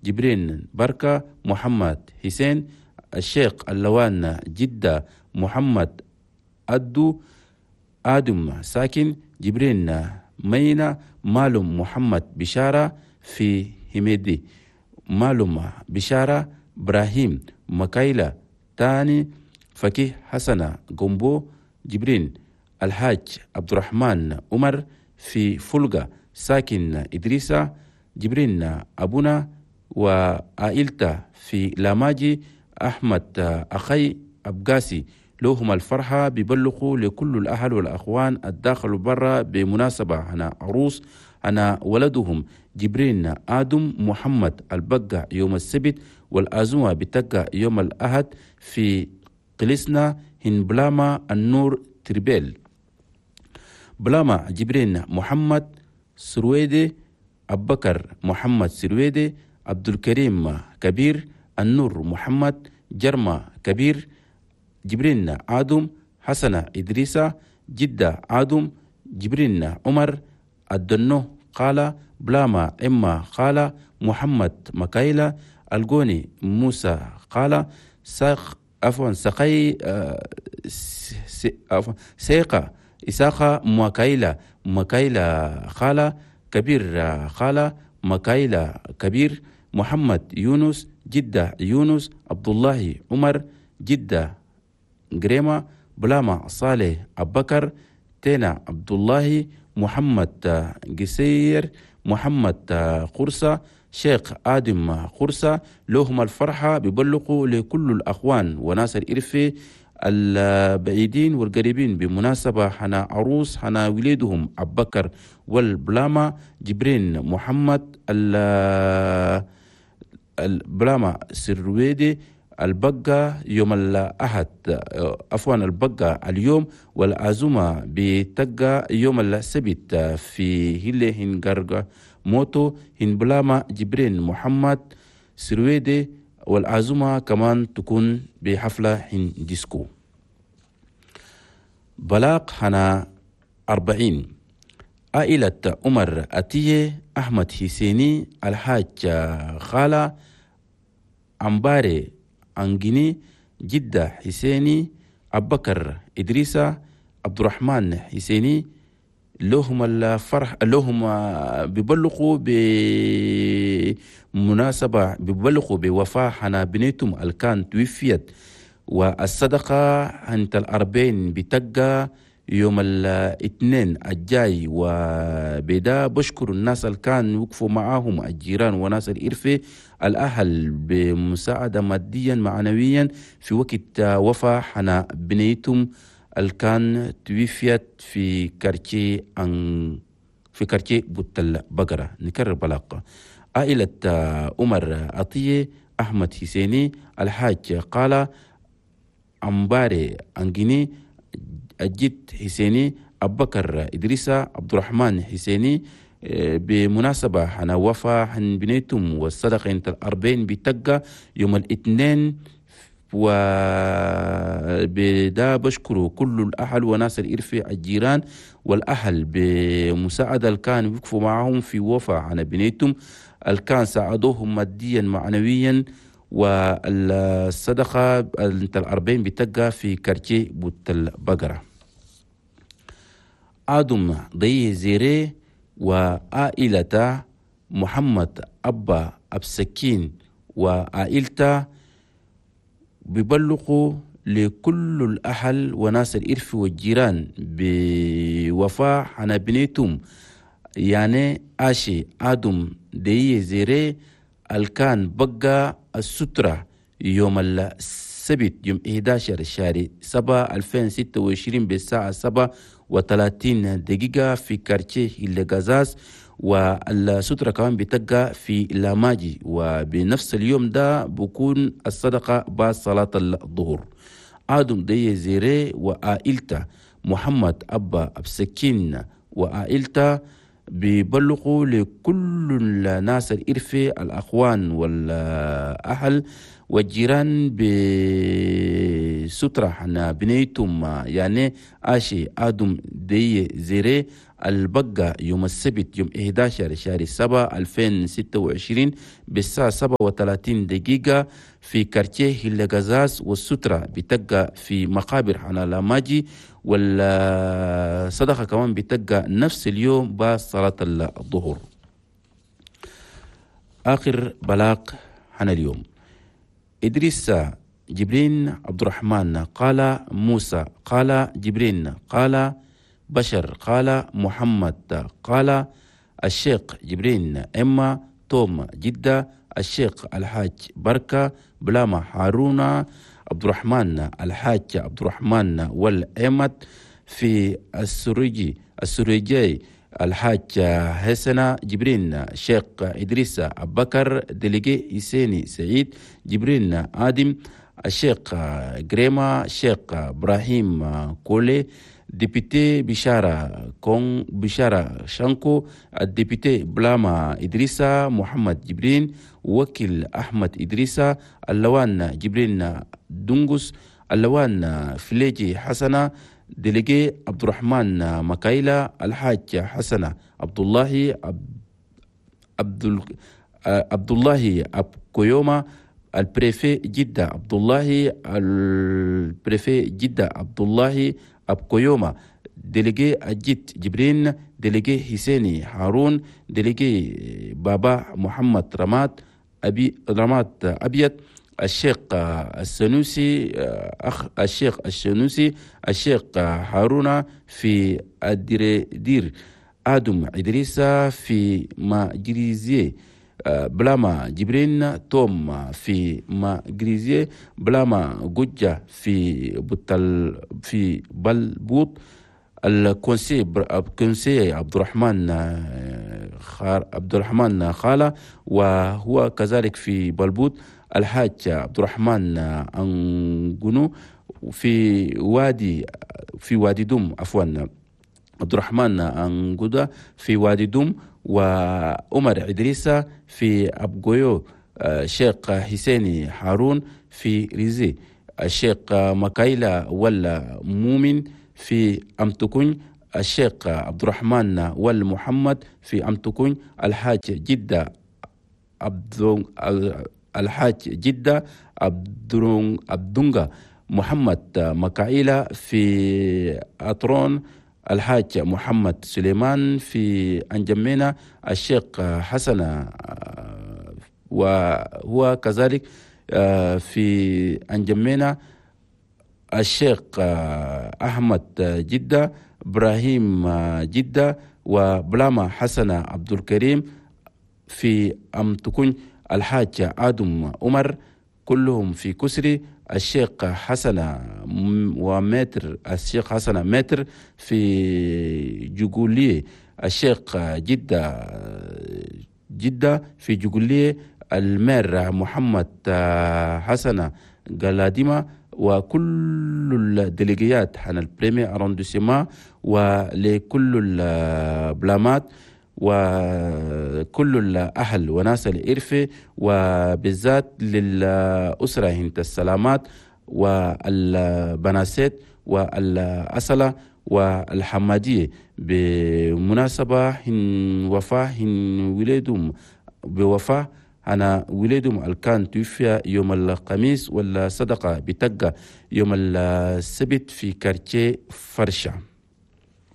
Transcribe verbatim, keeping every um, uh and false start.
جبرين بركة محمد حسين الشيخ اللوان جدة محمد أدو آدم ساكن جبرين مينا مالوم محمد بشارة في هميدي مالوم بشارة إبراهيم مكايلة تاني فكيه حسنة جومبو جبرين الحاج عبد الرحمن عمر في فلقة ساكن إدريسة جبرين أبونا وعائلته في لاماجي أحمد أخي أبقاسي لهم الفرحة بيبلغوا لكل الأهل والأخوان الداخل وبرا بمناسبة هنا عروس أنا ولدهم جبرين آدم محمد البقع يوم السبت والأزومة بتقع يوم الأحد في قلسنا هنبلاما النور تربيل بلاما جبرين محمد سرويدي أبكر محمد سرويدي عبد الكريم كبير النور محمد جرمة كبير جبرين آدم حسنة إدريسة جدة آدم جبرين عمر الدنو قال بلاما إما قال محمد مكايلة الجوني موسى قال ساق عفوا سقي عفوا سيقة إساقة مكايلة مكايلة قال كبير قال مكايلة كبير محمد يونس جدة يونس عبد الله عمر جدة جريمة بلاما صالح أبكر تينا عبد الله محمد قسير محمد قرصة شيخ آدم قرصة لهم الفرحة بيبلغوا لكل الأخوان وناس الإرفي البعيدين والقريبين بمناسبة حنا عروس حنا وليدهم أبكر والبلاما جبرين محمد البلاما سرويدي البقة يوم الأحد عفوا البقة اليوم والعزومة بتقى يوم السبت في هيلي هنغرغ موتو هنبلاما جبرين محمد سرويدي والعزومة كمان تكون بحفلة هن ديسكو. بلاق حنا أربعين عائلة عمر أتيه أحمد حسيني الحاج خالة أمباري أنجيني جدة حسيني أبكر إدريسة عبد الرحمن حسيني لهم الفرح لهم بيبلغوا بمناسبة بيبلغوا بوفاة حنا بنيتهم الكان توفيت والصدقة عند الأربعين بتقى يوم الاثنين الجاي. وبدا بشكر الناس اللي كان وقفوا معاهم الجيران وناس الإرفة الأهل بمساعدة ماديا معنويا في وقت وفاة حنا بنيتهم الكان توفيت في كارتي أن في كارتي بوت البقرة. نكرر بلاقة عائلة عمر عطية أحمد حسيني الحاج قال أمباري أنجيني الجد حسيني أبكر إدريسة عبد الرحمن حسيني بمناسبة حنا وفا حن بنيتم والصدقة انت الأربعين بتقى يوم الاثنين. وبدا بشكره كل الأهل وناس الإرفة الجيران والأهل بمساعدة الكان وقفوا معهم في وفا عن بنيتم الكان ساعدوهم ماديا معنويا. والصدقة انت الأربعين بتقى في كارتي بوت البقرة. آدم ضي زيري وعائلته محمد أبا أبسكين وعائلته بيبلغوا لكل الأهل وناس الإرف والجيران بوفاة حنا بنيتهم يعني آشي آدم دي زيري الكان بقى السترة يوم السبت يوم إحدى عشر شهر سبعة ألفين وستة وعشرين بالساعة سبعة وثلاثين دقيقة في كارتيه الغزاز. والسترة كمان بتقع في لاماجي وبنفس اليوم ده بكون الصدقة بعد صلاة الظهر. آدم دي زيري وعائلته محمد أبا أبسكين وعائلته بيبلغوا لكل الناس الإرفة الأخوان والأهل والجيران بسترة حنا بنيتهم يعني آشي آدم دي زيري البقة يوم السبت يوم إحدى عشر شهر سبعة ألفين وستة وعشرين بالساعة سبعة وثلاثين دقيقة في كارتيه هلغزاز، والسترة بتبقى في مقابر حنا لاماجي، والصدقة كمان بتبقى نفس اليوم بعد صلاة الظهر. آخر بلاغ حنا اليوم، إدريس جبرين عبد الرحمن قال موسى قال جبرين قال بشر قال محمد قال الشيخ جبرين إما توم جدة الشيخ الحاج بركة بلاما هارون عبد الرحمن الحاج عبد الرحمن والأحمد في السريجي السريجي الحاج حسن جبرين شيخ إدريس أبكر délégué حسيني سعيد جبرين آدم الشيخ جريما شيخ إبراهيم كولي député بشارة كون بشارة شانكو ال député بلاما إدريسا محمد جبرين وكيل أحمد إدريسا اللوان جبرين دونغوس اللوان فليجي حسنة délégué عبد الرحمن مكايلا الحاج حسنة عبد الله عبد عبد الله أبكويوما ال préfet جدة عبد الله ال préfet جدة عبد الله أبكويوما délégué أجيت جبرين délégué حسيني هارون délégué بابا محمد رماد أبي رماد أبيض الشيخ السنوسي أخ الشيخ السنوسي الشيخ هارون في الدير آدم إدريسا في ماجريزي بلاما جبرين توم في ماجريزي بلاما جوجا في بطل في بلبوط ال conseiller عبد الرحمن عبد الرحمن خالة وهو كذلك في بلبوط الحاج عبد الرحمن أنجنو في وادي في وادي دوم عفوا عبد الرحمن أنجودا في وادي دوم وعمر إدريسة في أبغويو شيخ حسيني هارون في ريزي الشيخ مكايلا ولا مومن في أمتكون الشيخ عبد الرحمن والمحمد في أمتكون الحاج جدة عبد الحاج جدة عبدونغا محمد مكايلا في أطرون الحاج محمد سليمان في أنجمينا الشيخ حسن وهو كذلك في أنجمينا الشيخ أحمد جدة إبراهيم جدة وبلاما حسن عبد الكريم في أمتكون الحاج آدم عمر كلهم في كسري الشيخ حسن ومتر الشيخ حسن متر في جوجولي الشيخ جدة جدة في جوجولي المير محمد حسن قلاديمة وكل ال délégués حنا ال premier arrondissement ولكل البلامات وكل الأهل وناس الإرفة وبالذات للأسرة هنت السلامات والبناسيت والأسلة والحمادية بمناسبة هن وفاة هن ولدهم بوفاة أنا ولدهم الكان توفي يوم الخميس والصدقة بتقى يوم السبت في quartier فرشة.